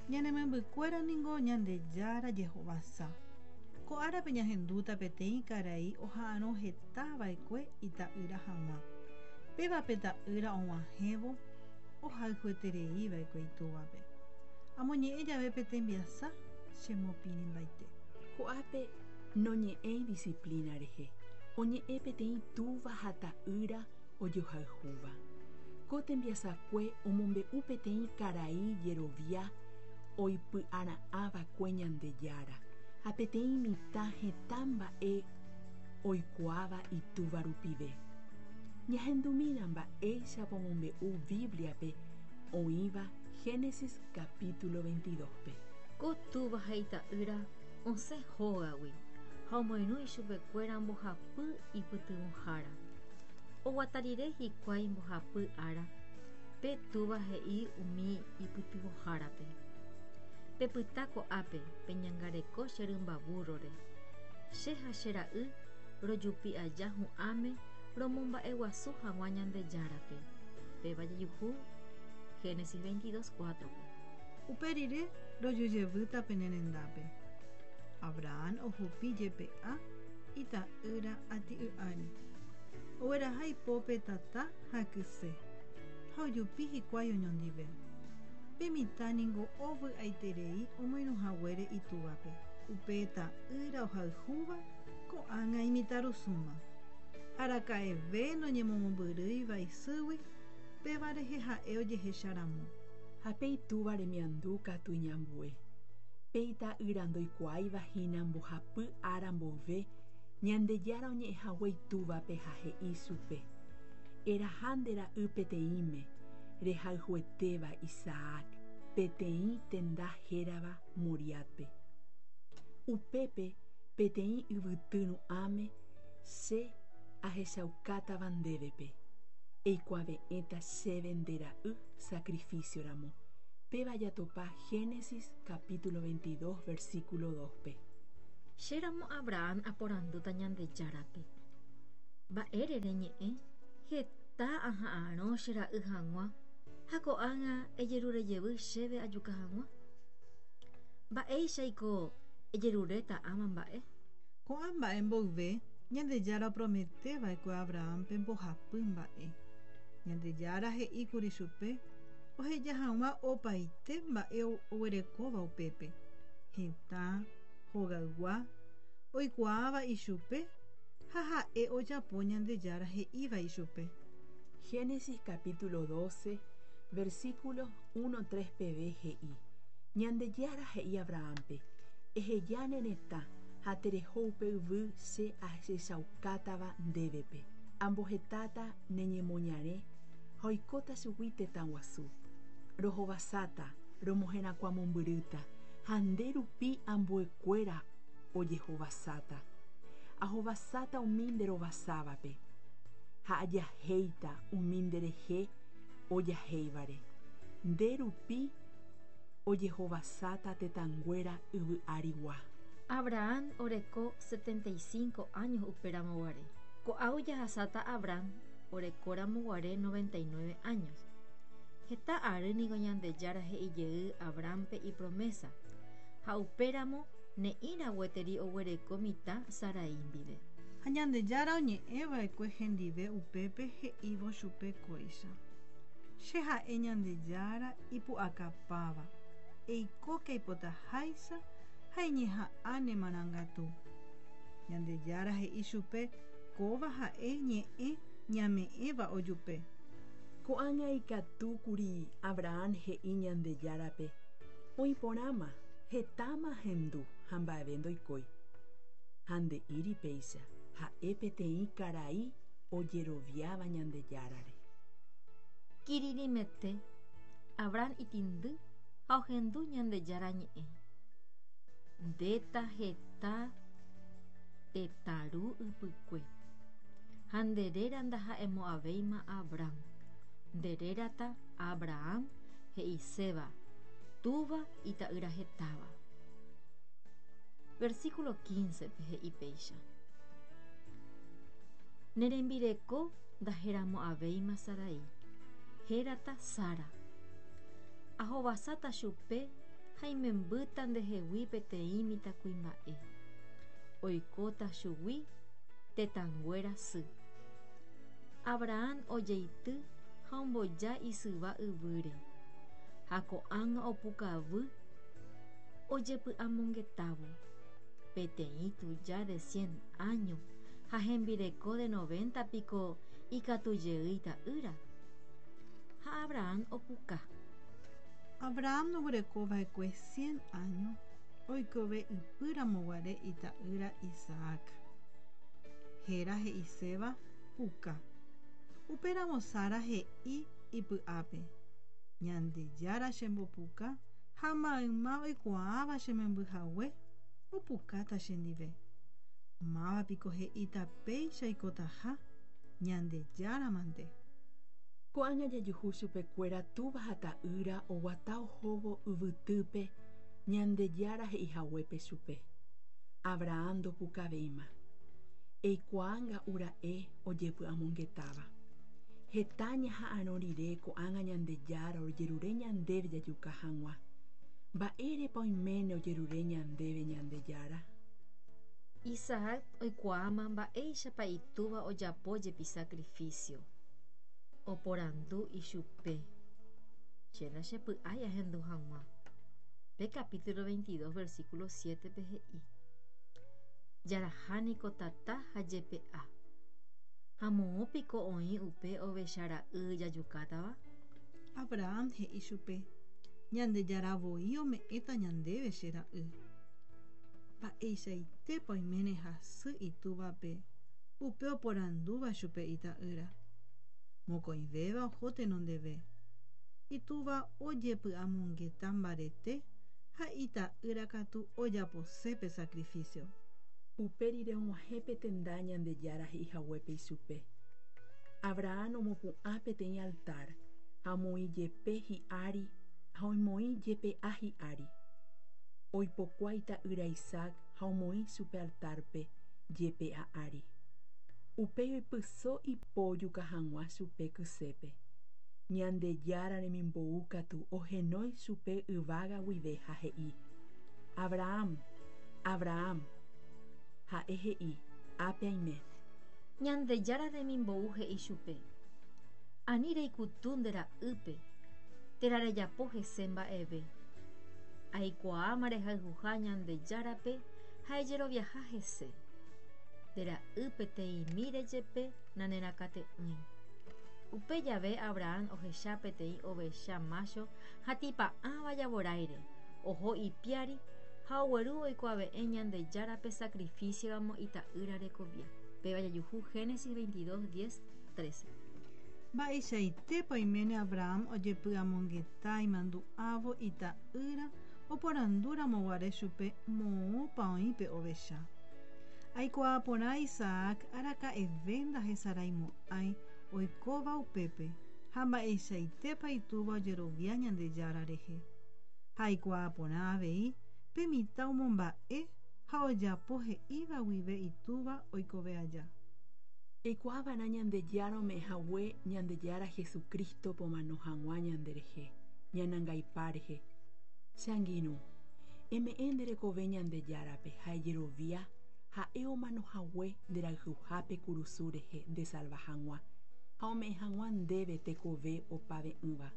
Ñane membykuéra ningo Ñandejára jehovasa. Ko árape ñahendúta peteĩ karai oha'arõ heta va'ekue ita'ýra hag̃ua. Péva pe ta'ýra og̃uahẽvo ohayhueterei va'ekue itúvape. Amoñe'ẽ jave pe tembiasa chemopirĩmbaite. Ko'ápe noñe'ẽi disciplina rehe, oñe'ẽ peteĩ túva ha ta'ýra ojohayhúva. Ko tembiasakue omombe'u peteĩ karai jerovia oipy'ara'ãva'ekue Ñandejára ha peteĩ mitã heta mba'e oikuaáva itúva rupive. Ñahendumína mba'éichapa omombe'u Bíbliape oĩva Génesis capítulo 22-pe. Ko túva ha ita'ýra osẽ hógagui ha omoirũ ichupekuéra mbohapy ipytyvõhára. Oguata rire hikuái mbohapy ára, pe túva he'i umi ipytyvõhárape, Pepyta ko'ápe peñangareko che rymba búrrore. Che ha che ra'y rojupi aja hu'ãme romomba'eguasu hag̃ua Ñandejárape. Péva jajuhu Génesis 22, 4-pe. Upe rire rojujevýta pene rendápe. Abraham ohupi jepe'a ita'ýra ati'y ári. Ogueraha ipópe tata ha kyse, ha ojupi hikuái oñondive. Pe mitã ningo ovy'aiterei omoirũ haguére itúvape. Upe ta'ýra ohayhúva ko'ág̃a imitãrusúma. Araka'eve noñemomombyrýiva isýgui, péva rehe ha'e ojehecha ramo. Ha pe itúva remiandu katu iñambue. Pe ita'ýra ndoikuaáiva hína mbohapy ára mboyve Ñandejára oñe'ẽhague itúvape ha he'i chupe, Eraha nde ra'y peteĩme, rehayhuetéva Isaac, peteĩ tenda hérava Moriátpe. Upépe peteĩ yvyty ru'ãme che ahechaukátava ndévepe, eikuave'ẽta chéve nde ra'y sacrificio ramo. Péva jatopa Génesis capítulo 22 versículo 2-pe. Che ramo Abraham aporandúta Ñandejárape, Mba'ére reñe'ẽ? Heta aha'arõ che ra'y hag̃ua ha ko'ág̃a ejerure jevy chéve ajuka hag̃ua. Mba'éichaiko ejeruréta ãva mba'e? Ko'ã mba'e mboyve, Ñandejára opromete va'ekue Abrahámpe mbohapy mba'e. Ñandejára he'i kuri chupe oheja hag̃ua opaite mba'e oguerekóva upépe, hetã, hogaygua, oikuaáva ichupe ha ha'e ojapo Ñandejára he'íva ichupe. Génesis capítulo 12, versículos 1 3 peve he'i, Ñandejára he'i Abrahámpe, Eheja ne retã ha tereho upe yvy che ahechaukátava ndévepe. Ambohetáta ne ñemoñare ha oikóta chugui tetã guasu. Rohovasáta, romoherakuãmombyrýta, ha nde rupi ambuekuéra ojehovasáta. Ahovasáta umi nde rovasávape, ha ajahéita umi nderehe ojahéivare. Nde rupi ojehovasáta tetãnguéra yvy arigua. Abraham oreko 75 años upéramo guare. Ko'águi jahasáta Abraham orekóramo guare 99 años. Heta ary niko Ñandejára he'i jey Abrahámpe ipromésa, ha upéramo ne'ĩra gueteri oguereko mitã Sarai ndive. Ha Ñandejára oñe'ẽ va'ekue hendive upépe he'ívo chupe kóicha, Che ha'e Ñandejára ipu'akapáva, eikóke aipotaháicha ha eñeha'ã ne marangatu. Ñandejára he'i chupe kóva ha'e ñe'ẽ ñame'ẽva ojupe. Ko'ág̃a ikatu kuri Abraham he'i Ñandejárape, Oĩ porãma, hetáma ahendu ha mba'eve ndoikói. Ha nde'íri péicha, ha'e peteĩ karai ojeroviáva Ñandejárare. Kirirĩmete, Abraham itindy ha ohendu Ñandejára ñe'ẽ, Ndéta heta tetã ru ypykue. Ha nde réra ndaha'emo'ãvéima Abram, nde rérata Abraham he'iséva túva ita'ýra hetáva. Versículo 15-pe he'i péicha, Ne rembireko ndaheramo'ãvéima Sarai, hérata Sara. Ahovasáta chupe Ha imembýta ndehegui peteĩ mitãkuimba'e. Oikóta chugui tetãnguéra sy. Abraham ojeity ha omboja isyva yvýre. Ha ko'ág̃a opukavy ojepy'amongetávo. Peteĩ tuja de cien áño ha hembireko de noventa piko ikatu jey ita'ýra? Ha Abraham opuka. Abraham oguereko va'ekue cien áño oikove ypy ramoguare ita'ýra Isaac. Héra he'iséva puka. Upéramo Sara he'i ipy'ápe, Ñandejára chembopuka ha mayma oikuaáva che memby hague, opukáta chendive. Máva piko he'íta péicha oikotaha? Ñandejára mante. Ko'ág̃a jajuhu chupekuéra túva ha ta'ýra oguata ohóvo yvytýpe Ñandejára he'ihaguépe chupe. Abraham ndopukavéima. Eikuaa nga'u ra'e ojepy'amongetáva. Heta ñaha'arõ rire ko'ág̃a Ñandejára ojerure ñandéve jajuka hag̃ua. Mba'érepa oiméne ojerure ñandéve Ñandejára? Isaac oikuaáma mba'éichapa itúva ojapo jepi sakrifísio. Oporandu ichupe, Che ndachepy'ái ahendu hag̃ua. Pe capítulo 22 versículo 7-pe he'i, Jaraha niko tata ha jepe'a. Ha moõ piko oĩ upe ovecha ra'y jajukátava? Abraham he'i chupe, Ñandejára voi ome'ẽta ñandéve che ra'y. Mba'eichaitépa oiméne hasy itúvape upe oporandúva chupe ita'ýra. Mokõivéva oho tenondeve. Itúva ojepy'amongeta mbarete ha ita'ýra katu ojapose pe sakrifísio. Upe rire og̃uahẽ pe tenda Ñandejára he'i haguépe ichupe. Abraham omopu'ã peteĩ altar ha omoĩ jepe hi'ári ha oimoĩ jepe'a hi'ári. Oipokua ita'ýra Isaac ha omoĩ chupe altárpe jepe'a ári. Upéi oipyso ipo ojuka hag̃ua chupe kysépe. Ñandejára remimbou katu ohenói chupe yvága guive ha he'i, Abraham, Abraham! Ha'e he'i, Ápe aime. Ñandejára remimbou he'i chupe, Ani reikutu nde ra'ýpe, térã rejapo hese mba'eve. Aikuaáma rehayhuha Ñandejárape ha ejeroviaha hese. Nde ra'y peteĩmíre jepe nanerakate'ỹi. Upe jave Abraham ohecha peteĩ ovecha mácho hatĩpa'ãva javoráire, oho ipiári ha ogueru oikuave'ẽ Ñandejárape sakrifísioramo ita'ýra rekovia. Péva jajuhu Génesis 22, 10, 13. Mba'eichaitépa oiméne Abraham ojepy'amongeta imandu'ávo ita'ýra oporandúramo guare chupe moõpa oĩ pe ovecha. Aikuaa porã Isaac araka'eve ndahesaraimo'ãi oikóva upépe ha mba'eichaitépa itúva ojerovia Ñandejára rehe. Ha aikuaa porã avei pe mitã omomba'e ha ojapo he'íva guive itúva oikove aja. Eikuaa va'erã Ñandejára ome'ẽ hague Ñandejára Jesucrístope omano hag̃ua ñanderehe, ñanangaipa rehe. Che angirũ, eme'ẽ nde rekove Ñandejárape ha ejerovia Ha'e omano hague nde rayhuhápe kurusu rehe ndesalva hag̃ua ha ome'ẽ hag̃ua ndéve tekove opave'ỹva.